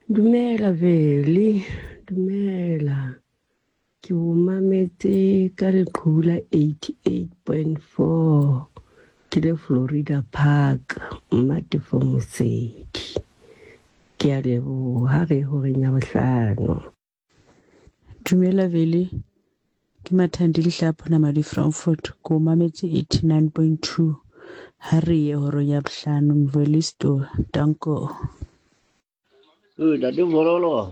Dumela Veli, dumela. Ke o mametse ka leqhubu la 88.4 ke le Florida Park, Mmatefo Mosedi. Ke a leboha re horeng ya bohlano. Dumela Veli, ke Mathandi Lehlapho Namadi Frankfurt, ke o mametse 89.2 ha re ye horong ya bohlano Mvelisto, danko. Ntate Vololo,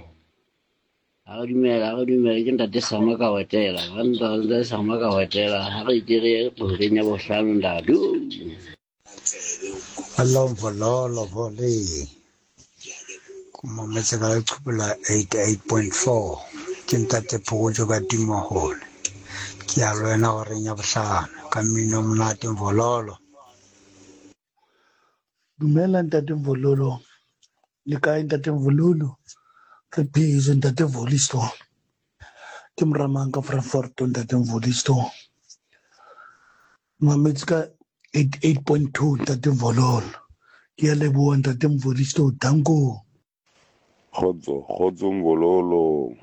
ha re dumela, ha re dumela, ke ntate Sama ka wetela, ha ntate Sama ka wetela, ha re ke re ye horeng ya bohlano ntate. Hello Vololo Voli. Ke mametse ka leqhubu la 88.4. Ke ntate Phokojo ka Timohole. Ke ya le wena horeng ya bohlano ka mmino o monate Vololo. Dumela ntate Vololo. Le kae ntate Vololo? Re phetse ntate Volisto. Ke moramang ka Frankfurt ntate Volisto. Mametse ka 88.2 ntate Vololo. Ke a leboha ntate Mvolisto. Danko. Kgotso, kgotso Mvololo.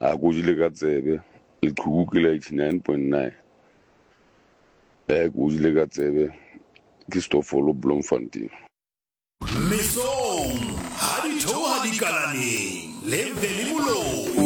A ko jile ka tsebe. Leqhubu ke la 89.9. Eh, ko jile ka tsebe. Ke Stofolo Bloemfontein. Mesong ha di theoha dikalaneng le Veli Moloi.